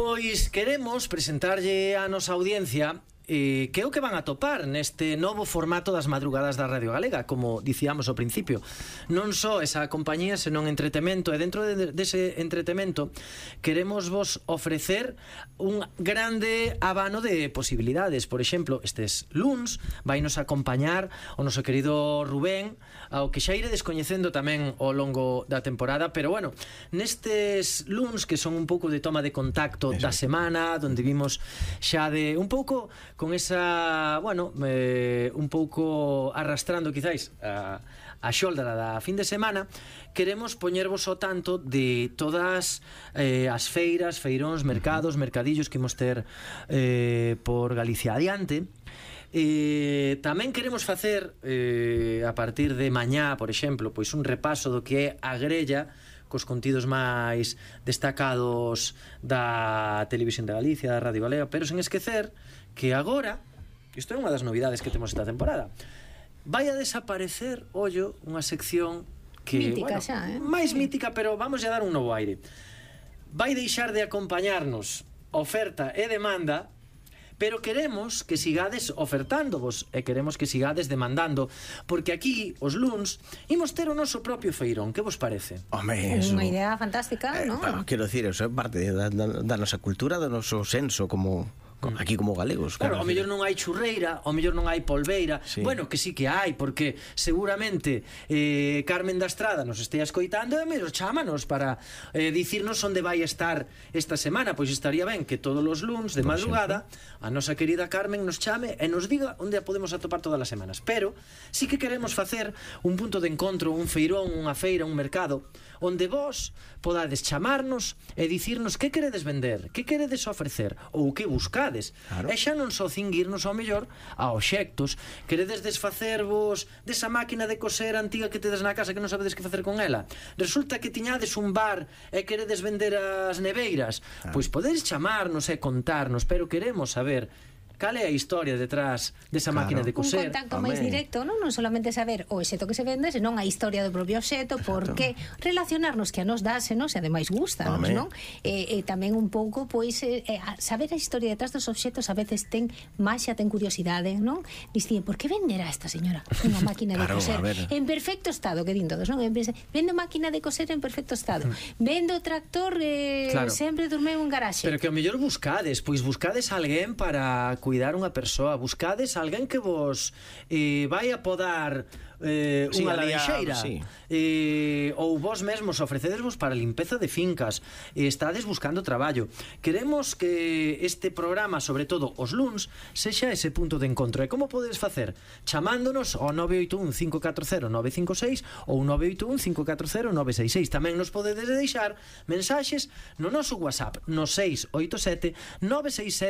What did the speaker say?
Pois queremos presentarlle a nosa audiencia que é o que van a topar neste novo formato das madrugadas da Radio Galega, como dicíamos ao principio. Non só esa compañía, senón entretemento, e dentro dese entretemento queremos vos ofrecer un grande abano de posibilidades. Por exemplo, estes luns vainos acompañar o noso querido Rubén, ao que xa iredes coñecendo tamén ao longo da temporada, pero bueno, nestes luns que son un pouco de toma de contacto da semana, donde vimos xa de un pouco con esa, bueno, un pouco arrastrando quizáis a xolda da fin de semana, queremos poñervos ao tanto de todas as feiras, feiróns, mercados, mercadillos que imos ter por Galicia adiante. Tamén queremos facer a partir de mañá, por exemplo, pois un repaso do que é a grella cos contidos máis destacados da Televisión de Galicia, da Radio Galega, pero sen esquecer que agora, isto é unha das novidades que temos esta temporada, vai a desaparecer, ollo, unha sección que, mítica, bueno, xa, máis mítica, pero vamos a dar un novo aire. Vai deixar de acompañarnos oferta e demanda, pero queremos que sigades ofertándovos e queremos que sigades demandando, porque aquí, os luns, imos ter o noso propio feirón. Que vos parece? Home, Unha idea fantástica, non? Quero dicir, eso é parte da nosa cultura, do noso senso como aquí como galegos. Claro, ao mellor non hai churreira, ao mellor non hai polveira. Sí. Bueno, que sí que hai, porque seguramente Carmen da Estrada nos estea escoitando e mellor chámanos para dicirnos onde vai estar esta semana. Pois estaría ben que todos os luns de madrugada a nosa querida Carmen nos chame e nos diga onde a podemos atopar todas as semanas. Pero sí que queremos facer un punto de encontro, un feirón, unha feira, un mercado, onde vos podades chamarnos e dicirnos que queredes vender, que queredes ofrecer ou que buscades. Claro. E xa non só cinguirnos ao mellor a obxectos. Queredes desfacervos desa máquina de coser antiga que tedes na casa que non sabedes que facer con ela. Resulta que tiñades un bar e queredes vender as neveiras. Pois podedes chamarnos e contarnos, pero queremos saber cal é a historia detrás desa máquina de coser. Un contacto máis directo, non solamente saber o obxeto que se vende, senón a historia do propio obxeto, porque relacionarnos que a nos dásenos e ademais gustanos, non? E tamén un pouco, pois, saber a historia detrás dos obxetos a veces ten maxia, ten curiosidade, non? Dicían, por que venderá esta señora unha máquina de coser en perfecto estado, que din todos, non? Vendo máquina de coser en perfecto estado, vendo tractor sempre dormeu en garaxe. Pero que ao mellor buscades alguén para cuidar unha persoa, buscades alguén que vos vai a podar unha laranxeira, ou vos mesmos ofrecedesvos para limpeza de fincas, estades buscando traballo. Queremos que este programa, sobre todo os luns, sexa ese punto de encontro. E como podedes facer? Chamándonos ao 981-540-956 ou 981-540-966. Tamén nos podedes deixar mensaxes no noso WhatsApp no 687 967